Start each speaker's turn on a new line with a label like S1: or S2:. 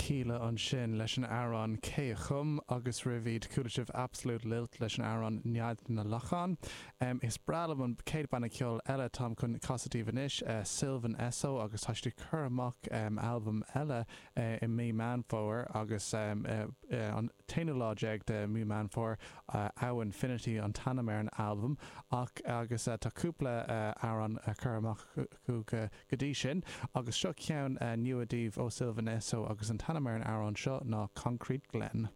S1: Kíla ansin leis an amhrán Cé a Chum agus roimh iad chuala sibh Absolute Lilt leis an amhrán Nead na Lachán. Is breá liom an chéad banna ceoil eile atáim chun casadh daoibh anois, Sylvan Esso agus tá siad ag cur amach albam eile i mí Meán Fómhair agus an t-aonú lá déag de mí Meán Fómhair, Awe Infinity an t-ainm ar an albam ach agus tá cúpla amhrán curtha amach acu go go dtí sin, agus seo ceann nua daoibh ó Sylvan Esso agus an t-ainm ar an amhrán seo ná Concrete Glen.